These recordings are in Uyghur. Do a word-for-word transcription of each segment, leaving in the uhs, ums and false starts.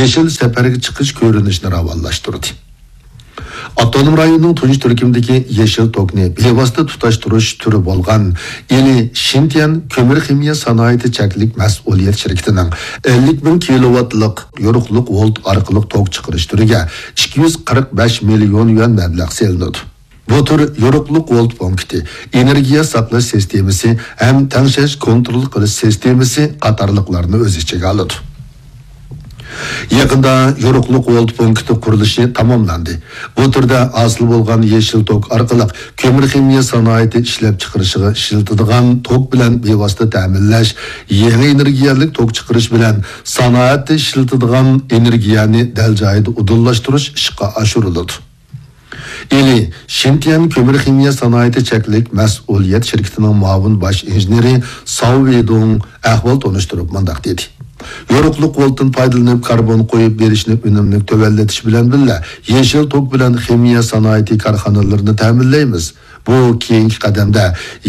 يېشىل سەپەرگە چىقىش كۆرۈنۈشىنى راۋانلاشتۇردى. ئاپتونوم رايوننىڭ تۇنجى تۈركۈمدىكى يېشىل توكنى بىۋاسىتە تۇتاشتۇرۇش تۈرى بولغان ئىلى شىنتيەن كۆمۈر خىمىيە سانائىتى چەكلىك مەسئۇلىيەت شىركىتىنىڭ ئەللىك مىڭ كىلوۋاتلىق يورۇقلۇق ۋولت ئارقىلىق توك چىقىرىش تۈرىگە ئىككى يۈز قىرىق بەش مىليون يۈەن مەبلەغ سېلىنىدۇ. بۇ تۈر يورۇقلۇق ۋولت پونكىتى، ئېنېرگىيە ساقلاش سىستېمىسى ھەم تەڭشەش كونترول قىلىش سىستېمىسى قاتارلىقلارنى ئۆز ئىچىگە ئالىدۇ. يېقىندا يورۇقلۇق ۋولت پونكىتى قۇرۇلۇشى تاماملاندى. بۇ تۈردە ھاسىل بولغان يېشىل توك ئارقىلىق كۆمۈر خىمىيە سانائىتى ئىشلەپچىقىرىشىغا ئىشلىتىدىغان توك بىلەن بىۋاسىتە تەمىنلەش، يېڭى ئېنېرگىيەلىك توك چىقىرىش بىلەن سانائەتتە ئىشلىتىدىغان ئېنېرگىيەنى دەل جايىدا ئۇدۇللاشتۇرۇش ئىشقا ئاشۇرۇلىدۇ. ئىلى شىنتيەن كۆمۈر خىمىيە سانائىتى چەكلىك مەسئۇلىيەت شىركىتىنىڭ مۇئاۋىن باش ئىنژېنېرى ساۋ ۋېدۇڭ ئەھۋال تونۇشتۇرۇپ مۇنداق دېدى: يورۇقلۇق ۋولتتىن پايدىلىنىپ كاربون قويۇپ بېرىشنى ئۈنۈملۈك تۆۋەنلىتىش بىلەن بىللە، يېشىل توك بىلەن خىمىيە سانائىتى كارخانىلىرىنى تەمىنلەيمىز. بۇ كېيىنكى قەدەمدە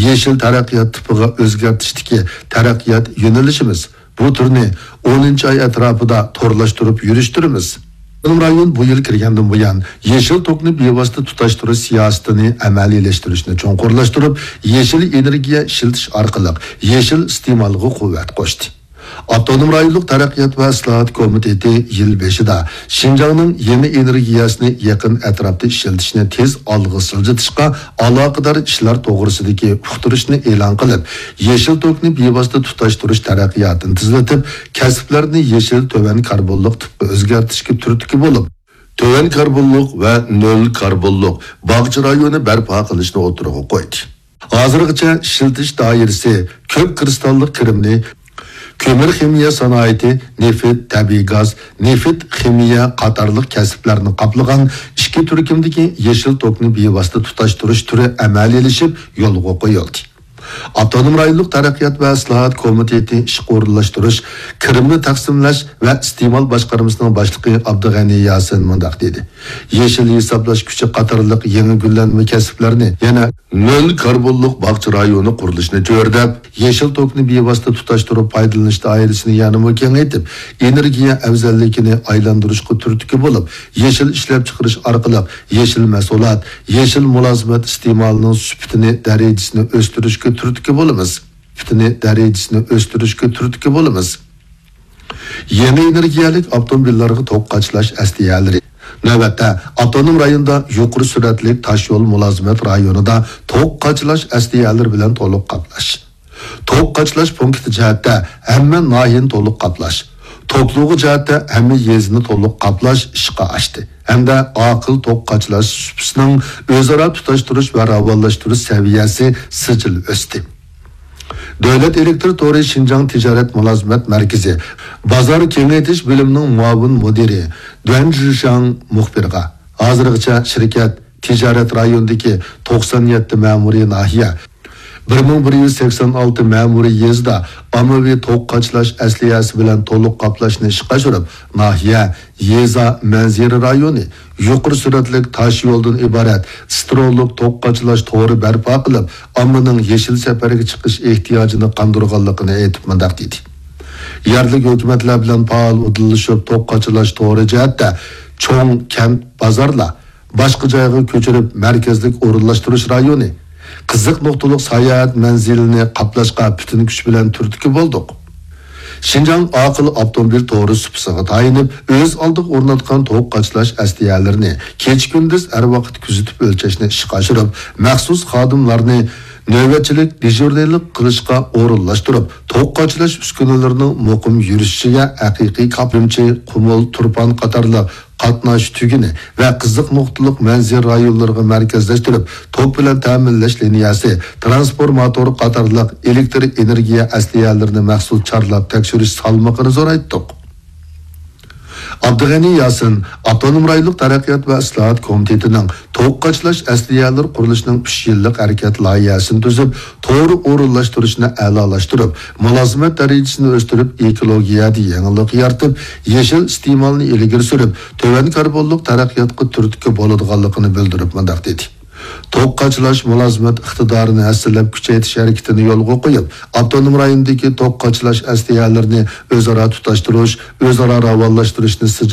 يېشىل تەرەققىيات تىپىغا ئۆزگەرتىشتىكى تەرەققىيات يۆنىلىشىمىز. بۇ تۈرنى ئونىنچى ئاي ئەتراپىدا تورلاشتۇرۇپ يۈرۈشتۈرىمىز. ئاپتونوم رايون بۇ يىل كىرگەندىن بۇيان، يېشىل توكنى بىۋاسىتە تۇتاشتۇرۇش سىياسىتىنى ئەمەلىيلەشتۈرۈشنى چوڭقۇرلاشتۇرۇپ، يېشىل ئېنېرگىيە ئىشلىتىش ئارقىلىق يېشىل ئىستېمالغا قۇۋۋەت قوشتى. ئاپتونوم رايونلۇق تەرەققىيات ۋە ئىسلاھات كومىتېتى يىل بېشىدا شىنجاڭنىڭ يېڭى ئېنېرگىيەسىنى يېقىن ئەتراپتا ئىشلىتىشنى تېز ئالغا سىلجىتىشقا ئالاقىدار ئىشلار توغرىسىدىكى ئۇقتۇرۇشنى ئېلان قىلىپ، يېشىل توكنى بىۋاسىتە تۇتاشتۇرۇش تەرەققىياتىنى تېزلىتىپ، كەسىپلەرنى يېشىل تۆۋەن كاربونلۇق تىپقا ئۆزگەرتىشكە تۈرتكە بولۇپ، تۆۋەن كاربونلۇق ۋە نۆل كاربونلۇق باغچە رايونى بەرپا قىلىشنى ئوتتۇرىغا قويدى. ھازىرغىچە ئىشلىتىش دائىرىسى كۆك كىرىستاللىق كىرىمنى كۆمۈر خىمىيە سانائىتى، نېفىت، تەبىئىي گاز، نېفىت خىمىيە قاتارلىق كەسىپلەرنى قاپلىغان ئىككى تۈركۈمدىكى يېشىل توكنى بىۋاسىتە تۇتاشتۇرۇش تۈرى ئەمەلىيلىشىپ يولغا قويۇلدى. ئاپتونوم رايونلۇق تەرەققىيات ۋە ئىسلاھات كومىتېتى ئىشقا ئورۇنلاشتۇرۇش، كىرىمنى تەقسىملەش ۋە ئىستېمال باشقارمىسىنىڭ باشلىقى ئابدۇغەنى ياسىن مۇنداق دېدى: يېشىل ھېسابلاش كۈچى قاتارلىق يېڭى گۈللەنمە كەسىپلەرنى يەنە نۆل كاربونلۇق باغچە رايونى قۇرۇلۇشىنى چۆرىدەپ، يېشىل توكنى بىۋاسىتە تۇتاشتۇرۇپ پايدىلىنىش دائىرىسىنى يەنىمۇ كېڭەيتىپ، ئېنېرگىيە ئەۋزەللىكىنى ئايلاندۇرۇشقا تۈرتكە بولۇپ، يېشىل ئىشلەپچىقىرىش ئارقىلىق يېشىل مەھسۇلات، يېشىل مۇلازىمەت ئىستېمالىنىڭ سۈپىتىنى، دەرىجىسىنى ئۆستۈرۈشكە تۈرتكە بولىمىز. سۈپىتىنى، دەرىجىسىنى ئۆستۈرۈشكە تۈرتكە بولىمىز. يېڭى ئېنېرگىيەلىك ئاپتوموبىللارغا توك قاچىلاش ئەسلىھەلىرى. نۆۋەتتە، ئاپتونوم رايوندا يۇقىرى سۈرئەتلىك تاشيول مۇلازىمەت رايونىدا توك قاچىلاش ئەسلىھەلىرى بىلەن تولۇق قاپلاش، توك قاچىلاش پونكىتى جەھەتتە ھەممە ناھىيەنى تولۇق قاپلاش، توكلۇغۇ جەھەتتە ھەممە يېزىنى تولۇق قاپلاش ئىشقا ئاشتى ھەمدە ئاقىل توك قاچىلاش سۇپىسىنىڭ ئۆزئارا تۇتاشتۇرۇش ۋە راۋانلاشتۇرۇش سەۋىيەسى سىجىل ئۆستى. دۆلەت ئېلېكتر تورى شىنجاڭ تىجارەت مۇلازىمەت مەركىزى بازار كېڭەيتىش بۆلۈمىنىڭ مۇئاۋىن مۇدىرى دۇەن جىشاڭ مۇخبىرغا، ھازىرغىچە شىركەت تىجارەت رايونىدىكى توقسان يەتتە مەمۇرىي ناھىيە، بىر مىڭ بىر يۈز سەكسەن ئالتە مەمۇرىي يېزىدا ئاممىۋى توك قاچىلاش ئەسلىھەسى بىلەن تولۇق قاپلاشنى ئىشقا ئاشۇرۇپ، ناھىيە، يېزا، مەنزىرە رايونى، يۇقىرى سۈرئەتلىك تاش يولدىن ئىبارەت ئىسترونلۇق توك قاچىلاش تورى بەرپا قىلىپ، ئاممىنىڭ يېشىل سەپەرگە چىقىش ئېھتىياجىنى قاندۇرغانلىقىنى ئېيتىپ مۇنداق دېدى: يەرلىك ھۆكۈمەتلەر بىلەن پائال ئۇدۇللىشىپ توك قاچىلاش تورى جەھەتتە چوڭ كەنت، بازارلار، باشقا جايغا كۆچۈرۈپ مەركەزلىك ئورۇنلاشتۇرۇش رايونى، قىزىق نۇقتىلىق ساياھەت مەنزىلىنى قاپلاشقا پۈتۈن كۈچ بىلەن تۈرتكە بولدۇق. شىنجاڭ ئاقىل ئاپتوموبىل تورى سۇپىسىغا تايىنىپ، ئۆز ئالدىغا ئورناتقان توك قاچىلاش ئەسلىھەلىرىنى كېچە-كۈندۈز ھەر ۋاقىت كۆزىتىپ ئۆلچەشنى ئىشقا ئاشۇرۇپ، مەخسۇس خادىملارنى نۆۋەتچىلىك، دېژۇرنىلىق قىلىشقا ئورۇنلاشتۇرۇپ، توك قاچىلاش ئۈسكۈنىلىرىنىڭ مۇقىم يۈرۈشۈشىگە ھەقىقىي كاپىلچى، قۇمۇل، تۇرپان قاتارلىق قاتناش تۈگۈنى ۋە قىزىق نۇقتىلىق مەنزىرە رايونلىرىغا مەركەزلەشتۈرۈپ، توك بىلەن تەمىنلەش لىنىيەسى، ترانسفورماتور قاتارلىق ئېلېكتر ئېنېرگىيە ئەسلىھەلىرىنى مەخسۇس چارلاپ تەكشۈرۈش سالمىقىنى زورايتتۇق. ئابدۇغېنى ياسىن ئاپتونوم رايونلۇق تەرەققىيات ۋە ئىسلاھات كومىتېتىنىڭ توك قاچىلاش ئەسلىھەلىرى قۇرۇلۇشىنىڭ ئۈچ يىللىق ھەرىكەت لايىھەسىنى تۈزۈپ، تورى ئورۇنلاشتۇرۇشنى ئەلالاشتۇرۇپ، مۇلازىمەت دەرىجىسىنى ئۆستۈرۈپ، ئېكولوگىيەدە يېڭىلىق يارىتىپ، يېشىل ئىستېمالنى ئىلگىرى سۈرۈپ، تۆۋەن كاربونلۇق تەرەققىياتقا تۈرتكە بولىدىغانلىقىنى بىلدۈرۈپ مۇنداق دېدى: توك قاچىلاش مۇلازىمەت ئىقتىدارىنى ھەسسىلەپ كۈچەيتىش ھەرىكىتىنى يولغا قويۇپ، ئاپتونوم رايوندىكى توك قاچىلاش ئەسلىھەلىرىنى ئۆزئارا تۇتاشتۇرۇش، ئۆزئارا راۋانلاشتۇرۇشنى